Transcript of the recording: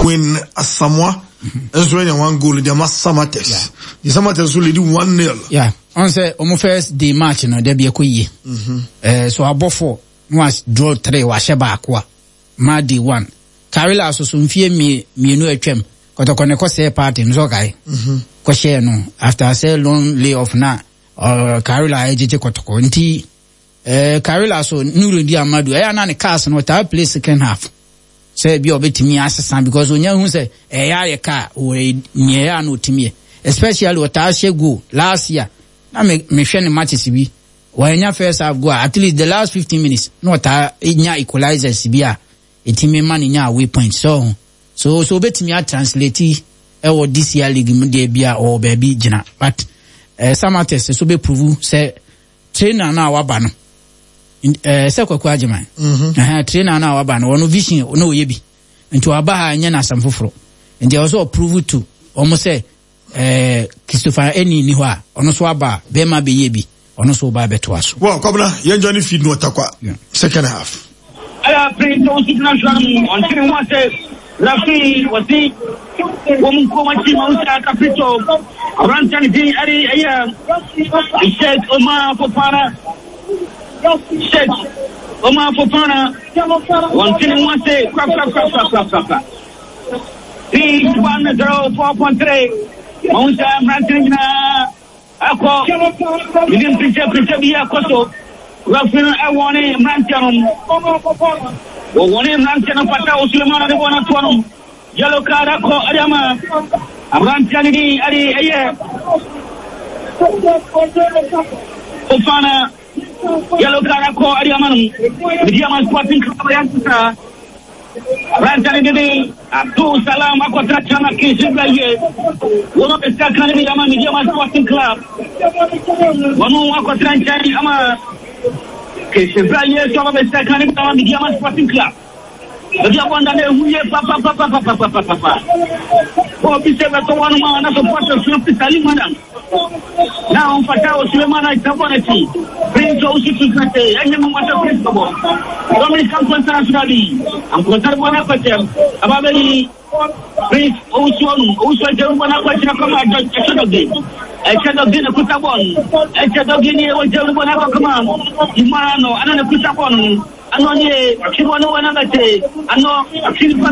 Queen Asamoah nso anya one goal de ama Samatex. The Samatex nso lead 1-0. Yeah, ɔn sɛ ɔmo first day match no dɛbi ɛkɔ yie. Ɛɛ so abɔ four na wa draw three, wahyɛ baako a ma day one. Karela so so mfie mmienu atwam Kɔtɔkɔ ne kɔ sɛɛ party no so ɔkae. Kɔhyɛɛ no after sɛ long layoff na Karela ɛgyegye Kɔtɔkɔ nti Karela so Nurudi Amadu ɛyɛ na ne cars no ɔtaa play second half. Sɛ bi a ɔbɛtumi asesa because onya hu sɛ ɛyɛ ayɛ kaa wɔ nea ɛyɛ a na ɔtumi yɛ, especially ɔtaa hyɛ goal. Last year na me mehwɛ ne matches bi, wɔanya first half goal a, at least the last 15 minutes na ɔtaa nya equalizers bi a ɛtumi ma ne nya away point. So obɛtumi atranslate ɛwɔ this year league mu deɛ bi a ɔwɔ baabi gyina, but Samatex so bɛprove sɛ trainer no a waba no sɛ Kwaku Agyeman trainer no a waba no, ɔno vision na ɔyɛ bi nti waba ha, nyɛ n'asɛm foforɔ, nti ɛwɔ sɛ ɔprove to ɔmo sɛ Christopher ɛni ni hɔ a ɔno nso aba a bɛrima bɛyɛ bi, ɔno nso ɔba abɛtoa so. Well, Kwabena, yɛn join feed no ɔtakwa second half. Ɛyɛ Prince Owusu gyina no mu, ɔnte ne ho ase. Referee wɔsi wɔn nkurom akyi ma wusa Caprito aberanteɛ ne din ɛde ɛyɛ Sheikh Omar Fofana. Sheikh Omar Fofana wɔnte ne ho ase korakorakorakorakorakora. Peace 104.3 ma wusa mmeranteɛ no nyinaa akɔ bibi mpinkyɛ bi akɔ so. Referee no ɛwɔ ne mmeranteɛ no, wɔwɔ ne mmeranteɛ no fata Osulemana de bɔ no atoɔ no, yellow card akɔ ɛde ama aberanteɛ no din ɛde ɛyɛ Fofana. Yellow card akɔ ɛde ama no. Medeama Sporting Club yɛ nsesa aberanteɛ no dede Abdul Salam akɔtena Chama Kinshasa yie. Wɔn abɛsi aka no bi ama Medeama Sporting Club. Wɔn akɔtena nkyɛn ama Kinshasa yie so abɛsi aka no bi ama Medeama Sporting Club. Ebi abɔnda na ehu yie papapapapapapapa. Obi sɛ bɛtɔ wɔn mu a na supporters no fi Salim Madam. Na ɔmfata wɔ Suleiman a gyina bɔ n'akyi. Prince Owusu Tunkate ɛnyɛ mmoa sɛ Prince bɛbɔ. Dominic Amponsah nso bi. Amponsah bɔ n'akɔkyɛm. Aba bɛyi Prince Owusu ɔno. Owusu agya bɔ n'akɔkyerɛ kɔma ɛkyɛ dɔge. Ɛkyɛ dɔge na kuta bɔɔl no. Ɛkyɛ dɔge ni ɛwɔ gya bɔ n'akɔkɔma. Imara no ana na kuta bɔɔl no. Ano nie, ɔtwe bɔ no wɔ n'abɛte. Ano, ɔtwe nipa.